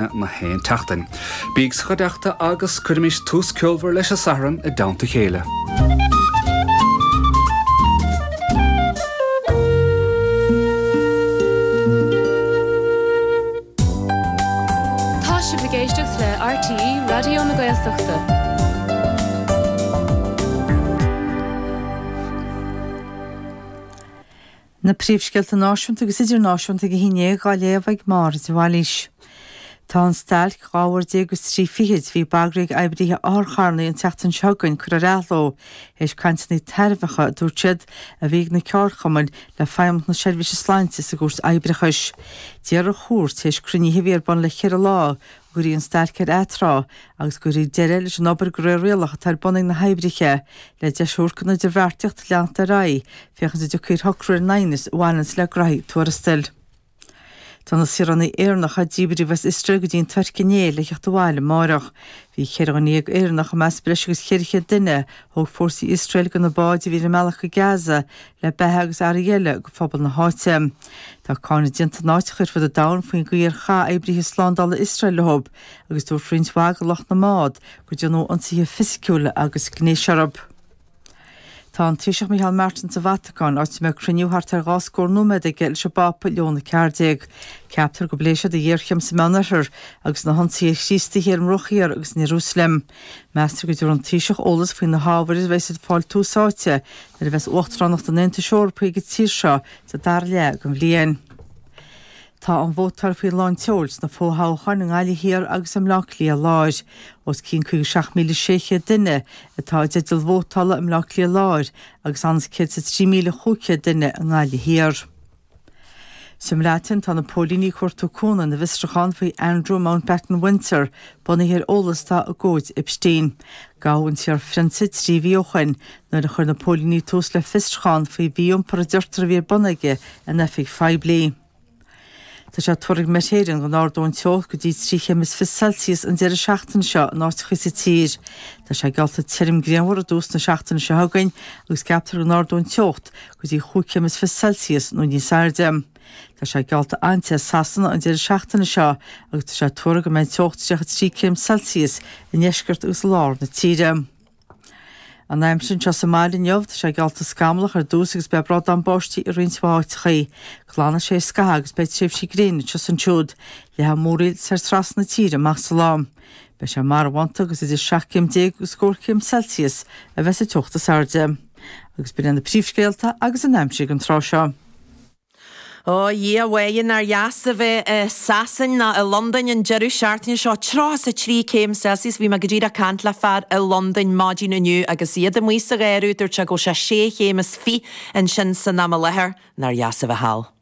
Na haon tseachtain. Bíg sa chuideachta agus cuirimis tús ceolmhar leis an Satharn i dteannta a chéile. Tá sibh ag éisteacht le RTÉ Raidió na Gaeltachta. Na príomhscéalta náisiúnta agus idirnáisiúnta ag a haon dhéag á léamh ag Máire de Bhailís. Tá an stailc 12 uair agus trí fichid a bhí bagraithe ag oibrithe otharcharranna an tseachtain seo chugainn curtha ar athló théis cainteanna tairbheacha, a dúirt siad, a bhí ag na ceardchumainn le Feidhmeannacht na Seirbhíse Sláinte sa gCúirt Oibreachais. D'iarr an chúirt, théis cruinnithe a bhí ar bun le ceithre lá, go gcuirfí an stailc ar atráth agus go gcuirfí deireadh leis an obair de réir rialach atá ar bun ag na hoibrithe, le deis a thabhairt don idirbheartaíocht leanacht ar aghaidh, féachaint an dtiocfaí ar shocrú ar an aighneas a bhaineanns le graithí tuarastail. Tá na saoránaigh Éireannacha díbríodh as Iosrael go dtí an Tuirc inné le theacht abhaile amáireach. Bhí 14 dhuine Éireannach i measc breis agus 400 duine a thóg fórsaí Iosrael de na báid a bhí ar a mbealach go Gaza le beatha agus earraí eile go phobal na háite. Tá cáineadh déanta in áiteacha ar fud an domhain faoin gcaoi ar chaith oibrithe slándála Iosrael leo agus dúirt roinnt mhaith de lucht na mbád gur déanadh ionsaithe fisiciúla agus gnéis orthu. Tá an Taoiseach Micheál Martin sa Vatacáin, áit a mbeidh cruinniú thart ar dhá scór nóiméad aige leis an bPápa Leon 14. Ceaptar go bpléifidh siad an ghéarchéim sa Meánoirthear agus na hionsaithe ar Chríostaithe ar an mBruach Thiar agus in Iarúsailéim. Meastar go dtabharfaidh an Taoiseach eolas faoi na hábhair a bheas ag fáil tús áite nuair a bheas Uachtaránacht an Aontais Eorpaigh ag an tír seo sa dara leath den bhliain. Tá an vótáil faoi lán tseoil sna fo-thoghcháin i nGaillimh Thiar agus i mBleá Cliath Láir. Os cionn 57,600 duine atá i dteideal vótála i mBleá Cliath Láir agus anns 103,500 duine i nGaillimh Thiar. Sa mBreatain, tá na póilíní ag cuartú cúnamh ina bhfiosrúchán faoi Andrew Mountbatten-Windsor, bunaithe ar eolas atá i gcomhaid Epstein. Gabhadh an t-iar-phrionsa 3 mhí ó shoin nuair a chuir na póilíní tús le fiosrúchán faoi mhí-iompar a deirtear a bhí ar bun aige in oifig phoiblí. Tá sé tuartha ag Met Éireann go n-ardóidh an teocht go dtí 3 chéim is 20 Celsius an deireadh seachtaine seo in áiteacha sa tír. Tá sé geallta tirim grianmhar i dtús na seachtaine seo chugainn agus ceaptar go n-ardóidh an teocht go dtí chúig chéim is 20 Celsius nó níos airde. Tá sé geallta an-te i Sasana an deireadh seachtaine seo agus tá sé tuartha go mbeidh an teocht 33 céim Celsius i ndeisceart agus i lár na tíre. An aimsir anseo sa mbaile inniu, tá sé geallta scamallach ar dtús agus beidh bradán báistí i roinnt mhaith áiteachaí. Glanfaidh sé ar scaitheamh agus beidh tréimhsí gréine anseo is ansiúd. Leathfaidh múraíl soir trasna na tíre amach sa lá. Beidh sé marbhánta agus idir 17 céim agus scór céim Celsius a bheas an teocht is airde. Agus b'in iad na príomhscéalta agus an aimsir ag an tráth seo. Ó, a Dhia mháigh, nár dheas a bheith i Sasain ná i Londain an deireadh seachtaine seo. 33 céim Celsius, bhí mé go díreach ag caint le fear i Londain maidin inniu agus iad amuigh sa gheimhreadh, dúirt sé go bhfuil sé sé chéim is fiche ansin san am i láthair. Nár dheas a bheith thall.